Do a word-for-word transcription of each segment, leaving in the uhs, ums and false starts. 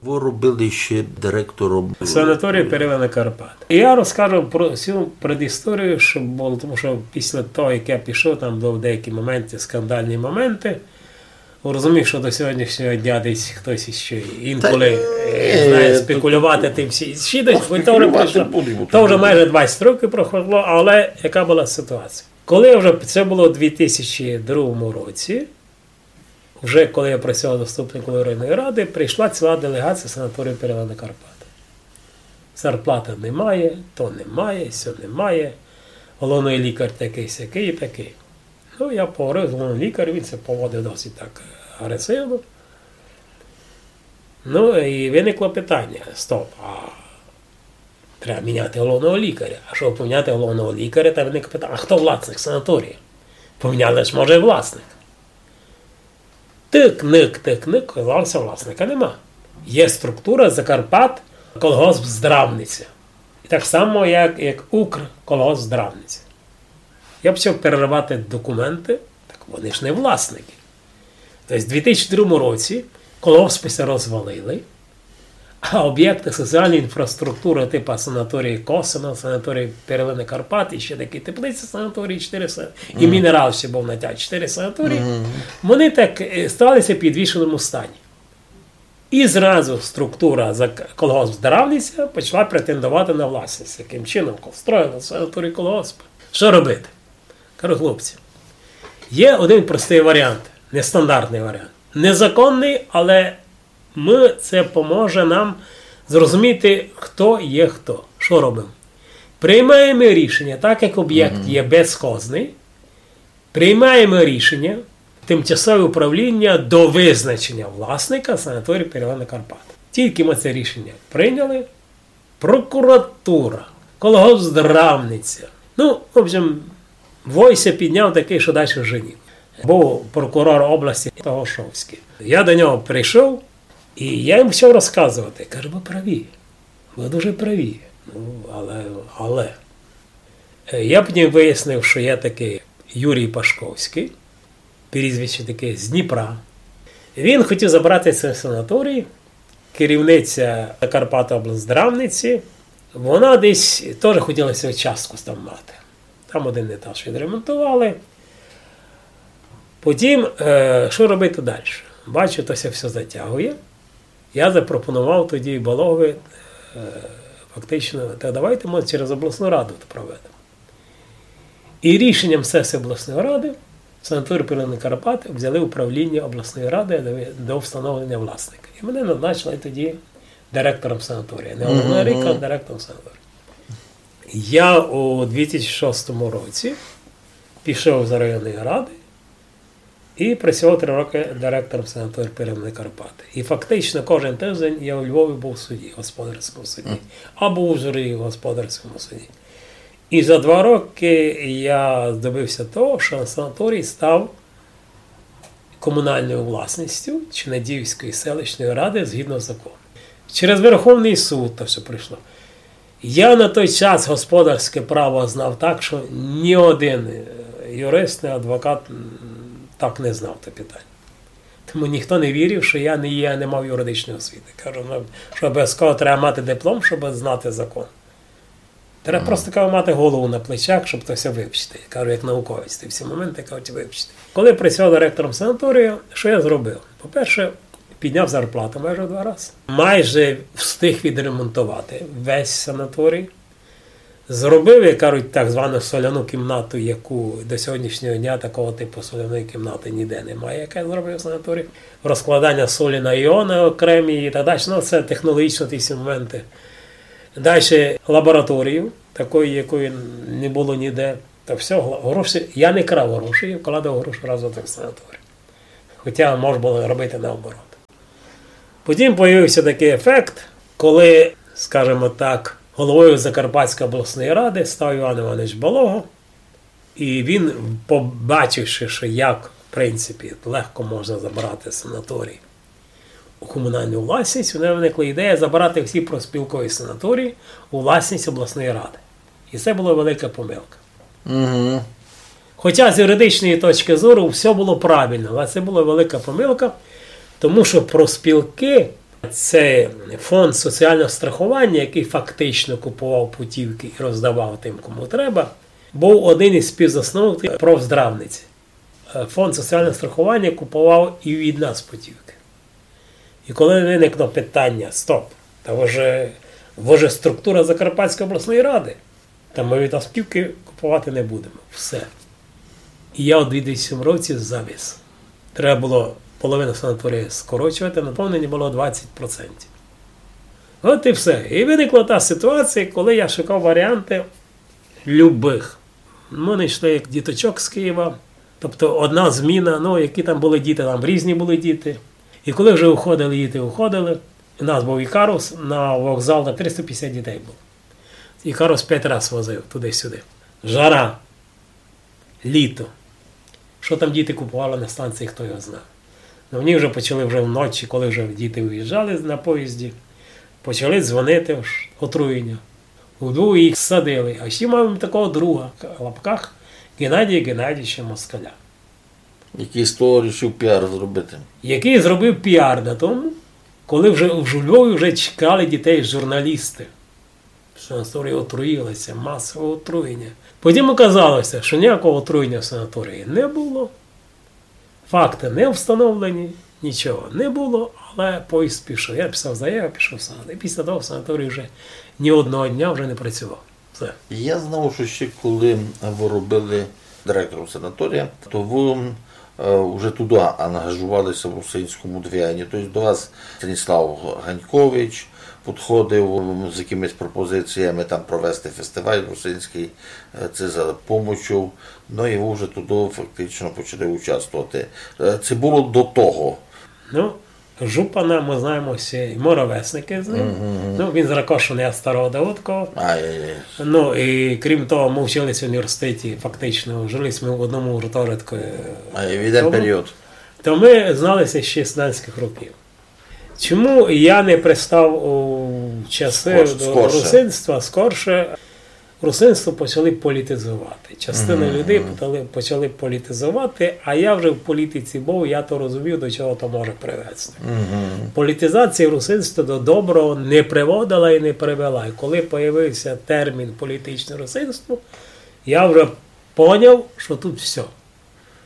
Вы робили ще директором санаторію Перлина Карпат. І я розкажу про всю предісторію, що було, тому що після того, як я пішов, там були деякі моменти, скандальні моменти. Розумію, що до сьогоднішнього дня десь хтось іще інколи, е, знає, спекулювати тим всі-, ще десь, бо то вже пройшло, то вже майже двадцять років пройшло, але яка була ситуація? Коли вже це було у дві тисячі другому році, вже коли я працював заступником районної ради, прийшла ціла делегація санаторію Перлина Карпат. Зарплата немає, то немає, сьо немає. Головний лікар такий, сякий і такий. Ну, я поговорив з головним лікарем, він ся поводив досить так агресивно. Ну, і виникло питання: стоп, а треба міняти головного лікаря. А щоб поміняти головного лікаря, там виникло питання: а хто власник санаторію? Поміняли ж, може, власник. Тик-ник, тик-ник, оказалося, власника нема. Є структура Закарпат колгосп Здравниця. І так само, як, як Укрколгосп Здравниця. Я почав переривати документи, так вони ж не власники. Тобто в дві тисячі другому році колгоспи ся розвалили, а об'єкти соціальної інфраструктури типу санаторії Косино, санаторії Перлини Карпат і ще такі теплиці санаторії, чотири са-, і Мінерал ще був на тя-, чотири санаторії, вони так, е, сталися в підвішеному стані. І зразу структура за к-, колгосп Здравниця почала претендувати на власність. Яким чином? Строїли санаторій колгосп. Що робити? Кажу: хлопці, є один простий варіант, нестандартний варіант. Незаконний, але ми, це поможе нам зрозуміти, хто є хто. Що робимо? Приймаємо рішення, так як об'єкт є безхозний, приймаємо рішення, тимчасове управління до визначення власника санаторію Перлина Карпат. Тільки ми це рішення прийняли, прокуратура, колгосп Здравниця. Ну, в общем, вой ся підняв такий, що дальше вже ні. Був прокурор області Тагошовський. Я до нього прийшов, і я йому почав розказувати. Кажу: ви праві, ви дуже праві. Ну, але, але. Е, я потім вияснив, що є такий Юрій Пашковський, прізвище таке, з Дніпра. Він хотів забрати цей санаторій, керівниця Закарпатоблздравниці, вона десь теж хотіла свою частку там мати. Там один етаж відремонтували. Потім, е, що робити далі? Бачу, то ся все затягує. Я запропонував тоді Балогові, е, фактично: та давайте ми через обласну раду проведемо. І рішенням сесії обласної ради санаторій Перлини Карпат взяли управління обласної ради до, до встановлення власника. І мене назначили тоді директором санаторію. Не головного лікаря, а директором санаторію. Я у дві тисячі шостому році пішов з районної ради і працював три роки директором санаторію Перлини Карпат. І фактично кожен тиждень я у Львові був в суді, господарському суді, або у Ужгороді в господарському суді. І за два роки я добився того, що санаторій став комунальною власністю Чинадіївської селищної ради згідно закону. Через Верховний суд то все пройшло. Я на той час господарське право знав так, що ні один, е, юрист, ні адвокат, м, так не знав те питання. Тому ніхто не вірив, що я не є, не мав юридичної освіти. Кажу, ну, що обов'язково треба мати диплом, щоб знати закон. Треба просто, кажу, мати голову на плечах, щоб то все вивчити. Кажу, як науковець, ти всі моменти, кажуть, вивчити. Коли працював директором санаторію, що я зробив? По-перше, підняв зарплату майже в два рази. Майже встиг відремонтувати весь санаторій. Зробив, як кажуть, так звану соляну кімнату, яку до сьогоднішнього дня такого типу соляної кімнати ніде немає, яке зробив санаторій. Розкладання солі на іони окремі і так далі. Ну, це технологічно ті всі моменти. Далі лабораторію, такої, якої не було ніде. Та все, гла-, гроші, я не крав гроші, я вкладав гроші разом в санаторій. Хоча можна було робити наоборот. Потім появився такий ефект, коли, скажімо так, головою Закарпатської обласної ради став Іван Іванович Балога, і він, побачивши, що як, в принципі, легко можна забрати санаторій у комунальну власність, у нього виникла ідея забрати всі профспілкові санаторії у власність обласної ради. І це була велика помилка. Хоча з юридичної точки зору все було правильно, але це була велика помилка, тому що профспілки Це фонд соціального страхування, який фактично купував путівки і роздавав тим, кому треба, був один із співзасновників профздравниці. Е, фонд соціального страхування купував і від нас путівки. І коли виникло питання: «Стоп, та ви же, ви же структура Закарпатської обласної ради, та ми від вас путівки купувати не будемо». Все. І я у дві тисячі сьомому році завис. Треба було половину санаторія скорочувати, наповнення було двадцять процентів. От і все. І виникла та ситуація, коли я шукав варіанти любих. Ми знайшли як діточок з Києва, тобто одна зміна, ну, які там були діти, там різні були діти. І коли вже уходили діти, уходили, у нас був Ікарус, на вокзал на триста п'ятдесят дітей було. Ікарус п'ять раз возив туди-сюди. Жара, літо. Що там діти купували на станції, хто його знає. Ну, мені вже почали вже вночі, коли вже діти виїжджали на поїзді, почали дзвонити, ож отруєння. Удвох їх садили. А ще маємо такого друга, в лапках, Геннадія Геннадійовича Москаля. Який з того рішив піар зробити. Який зробив піар на тому, коли вже в Львові вже чекали дітей журналісти. Санаторій отруїлися, масове отруєння. Потім оказалося, що ніякого отруєння в санаторії не було. Факти не встановлені, нічого не було, але поїзд пішов. Я писав заяву, пішов в санаторій. І після того санаторій вже ні одного дня вже не працював. Все. Я знав, що ще коли ви робили директором санаторія, то ви, е, вже туди ангажувалися в русинському движенні. Тобто до вас Станіслав Ганькович підходив з якимись пропозиціями там провести фестиваль русинський, е, це за помочу. Ну і ви вже туди фактично почали участвувати. Е, це було до того. Ну, Жупана, ми знаємо всі, і ми ровесники з ним. Ну, він з Ракошина, я з Старого Давыдкова. Ай-яй-яй. Ну, і крім того, ми вчилися в університеті, фактично, жили ми в одному гуртожитку. А, і в один період. То ми зналися ще з студентських років. Чому я не пристав у часи до русинства скорше? Русинство почали політизувати. Частина людей почали, почали політизувати, а я вже в політиці був, я то розумів, до чого то може привести. Політизація русинства до доброго не приводила і не привела. І коли появився термін політичне русинство, я вже поняв, що тут все.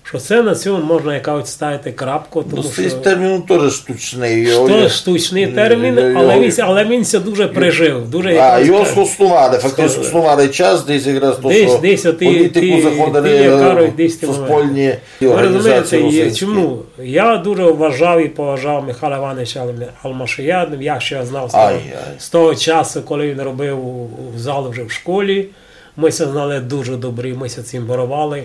Що це на цьому можна якось ставити крапку, тому що... Ну, цей термін теж штучний. Штучний термін, але він, але він ся дуже прижив, дуже... А, його схоснували, фактично схоснували час, десь якраз то, що в політику заходили суспільні організації русинські. Ви розумієте, чому? Я дуже вважав і поважав Михайла Івановича Алмашія, я ще знав з того часу, коли він робив у, у зал вже в школі. Ми ся знали дуже добрі, ми ся цімборовали.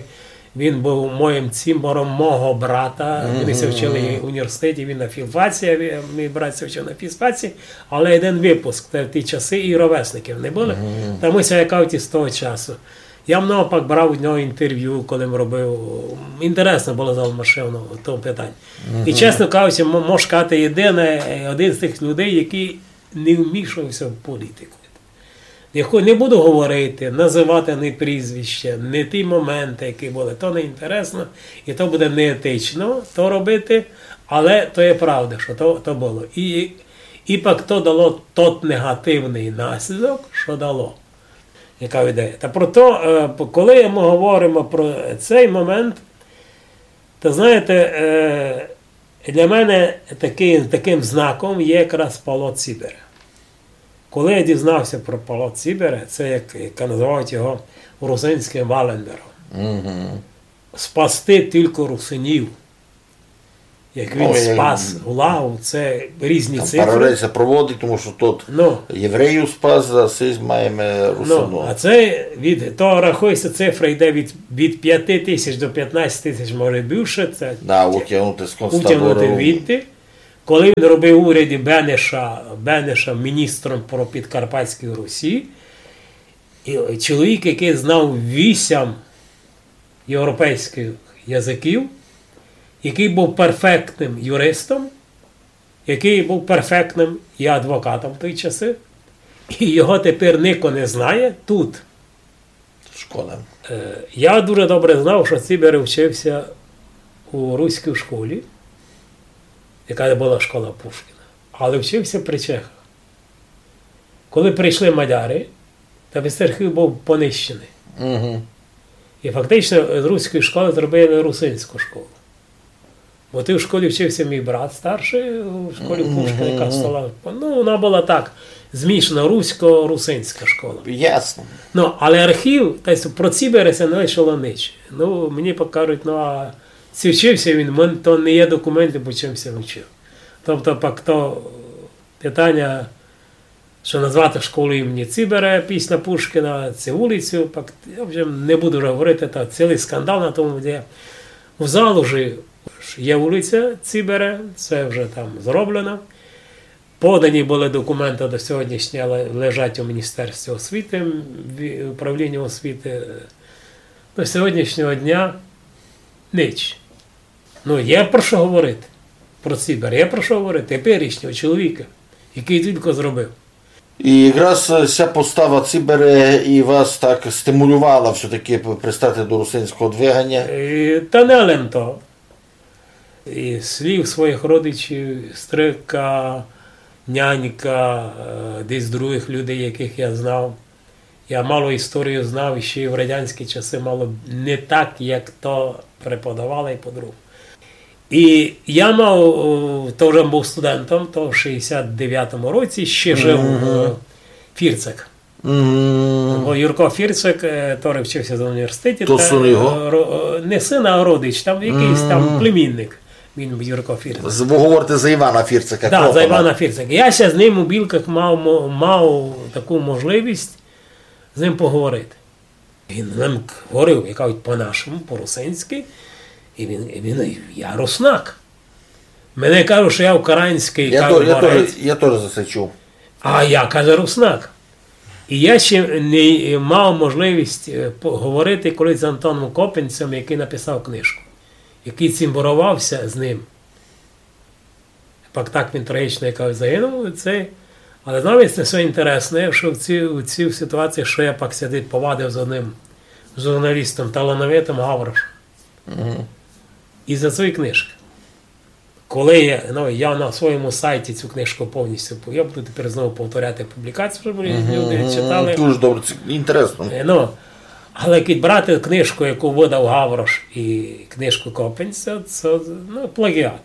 Він був моїм цімбором мого брата. Вони ся вчили в університеті, він на філфаці, а мій брат ся вчив на фізфаці. Але один випуск, те, ті часи і ровесників не було. Та ми ся якавці з того часу. Я много пак брав у нього інтерв'ю, коли він робив. Інтересно було з Алмашевим в тому питанні. І, чесно кажучи, м-, можу сказати, єдине, е, один з тих людей, який не вмішувався в політику. Не хо-, не буду говорити, називати ні прізвища, ні ті моменти, які були. То не інтересно, і то буде неетично то робити, але то є правда, що то, то було. І, і пак то дало тот негативний наслідок, що дало. Яка ідея? Та про то, е, п-, коли ми говоримо про цей момент, то, знаєте, е, для мене такий, таким знаком є якраз Палац Сібіри. Коли я дізнався про Палац Сібіри, це як, як називають його русинським Валенбером. Спасти тільки русинів. Як він спас Гулагу, це різні цифри. Там паралель ся проводить, тому що тут євреїв спас, а сись маємо русинів. Ну, а це від, то рахується, цифра йде від, від п'яти тисяч до п'ятнадцяти тисяч, може більше. Це утягнути з концтабору. Утягнути відти. Коли він робив у уряді Бенеша, Бенеша міністром про Підкарпатську Русі, і чоловік, який знав вісім європейських язиків, який був перфектним юристом, який був перфектним і адвокатом в той часи, і його тепер нико не знає тут. Школа. Е, я дуже добре знав, що Сібіри вчився у руській школі, яка була школа Пушкіна. Але вчив ся при чехах. Коли прийшли мадяри, та весь архів быв понищеный. Мгм. І фактично з руської школы зробили русинську школу. Бо ты в школі вчив ся мій брат старшый, у школі Пушкіна, яка стала, ну, она была так, змішана русько-русинська школа. Ясно. Ну, але архів, та й про Цібере ся не лишило нич. Ну, мені пак кажуть, ну, а ци вчив ся він, мен-, то не є документы, по чим ся вчив. Тобто, пак то питаня, што назвати школу імені Цібере після Пушкіна, ци улицю, пак, я вже не буду вже говорити, та цілый скандал на тому, де в Залужі є улиця Цібере, це вже там зроблено. Подані были документы, до сьогоднішнього ле-, лежать у Міністерстві освіти, в управлінні освіти. До сьогоднішнього дня нич. Ну, є про што говорити. Про Цібер є про што говорити. Теперішнього чоловіка, якый тілько зробив. І якраз, е, ся постава Цібере і вас так стимулювала всьо-таки п-, пристати до русинського двиганя? Е, та не лем то. І слів своїх родичів, стрика, нянька, е, десь других людей, якых я знав. Я мало історію знав іщи в радянські часы, мало не так, як то преподавали і по-другому. І я мав, о, то вже быв студентом, то в шістдесят девятому році ще жив, е, Фірцак. Бо Юрко Фірцак, е, который вчив ся в університеті, то та, син його? Е, ро-, е, не син, а родич, там якыйсь там племінник. Він Юрко Фірцак. З-, вы говорите за Івана Фірцака, да, за Івана Фірцака. Я ся з ним у Білках мав мо-, мав таку можливість з ним поговорити. Він нам говорив, як кажуть, по-нашому, по-русинськи, і він, і він: «Я руснак». Мене кажуть, што я українськый, я кажуть, то-, я борець. Тоже, я тоже за се чув. А я, каже, руснак. І я ще не мав можливість, е, поговорити колись з Антоном Копинцем, якый написав книжку, якый цімборовав ся з ним. Пак так він трагічно, як кажуть, загинув. Це, але знав, це всьо інтересне, што в цій, у цій ситуації, што я пак сидів, повадив з одним журналістом, талановитым Гаврошем. Мгм. І за свої книжкы. Коли я, ну, я на своєму сайті цю книжку повністю, я буду тепер знову повторяти публікацію, щоб люди читали. Дуже добре, це інтересно. Е, ну, але як брати книжку, яку видав Гаврош, і книжку Копинця, це, ну, плагіат.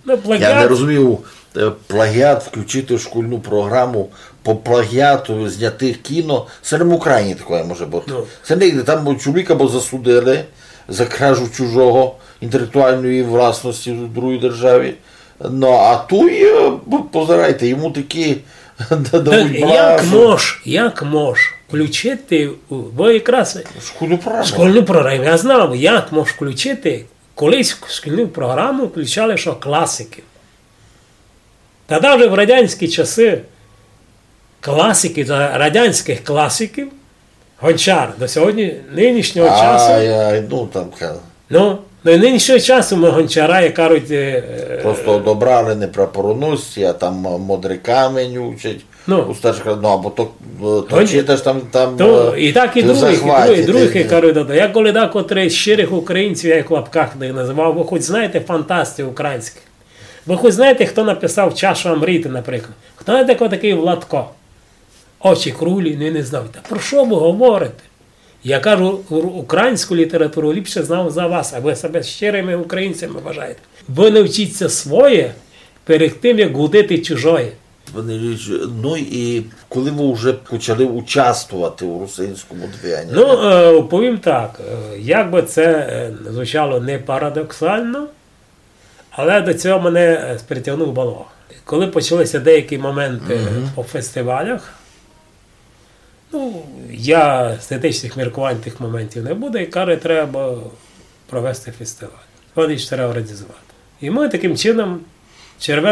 Ну, плагіат. Я не розумію, е, плагіат включити в шкільну програму, по плагіату зняти кіно, це не в Україні такое може бути. Ну. Це не, там чоловіка бо засудили за кражу чужого, інтелектуальної власності в другій державі. Ну, а туй, е, б-, позирайте, йому такі дадуть як брашу. Мож, як мож включити у, бо якраз шкільну програму. Шкільну програму, я знав, як мож включити, колись в шкільну програму включали, што класиків. Та даже в радянські часы класиків, за радянськых класиків, Гончар до сьогодні, нынішнього часу. Ай, ай, ну, там ка- Ну, до нынішнього часу мы Гончара, як кажуть, е, просто одобрали неправопорушності, а там, е, Модрий камень учать. Ну. У старших, ну, або то, е, то Гонч-, читаш там, там, то, е, і так і ти других, і захватить, других, і других, і кажуть, да, да. Я коли декотрых щирых українців, я їх в лапках не називав, вы хоч знаєте фантастів українськых? Вы хоч знаєте, хто написав «Чашу Амріти», наприклад? Хто знаєте, хто такый Владко? «Очі круглі», не, не знав. Та про што вы говорите? Я кажу, у-, українську літературу ліпше знав за вас, а вы себе щирыми українцями вважаєте. Вы навчіть ся своє перед тым, як гудити чужоє. Пане Юрійович, ну і коли вы вже почали участвовати у русинському движенні? Ну, е, повім так, е, як бы це, е, звучало не парадоксално, але до цього мене, е, притягнув Балога. Коли почалися деякі моменты по фестивалях, ну, я з етичных міркувань тых моментів не буду, і каже, треба провести фестиваль. Вони ж треба організувати. І мы такым чином, Червена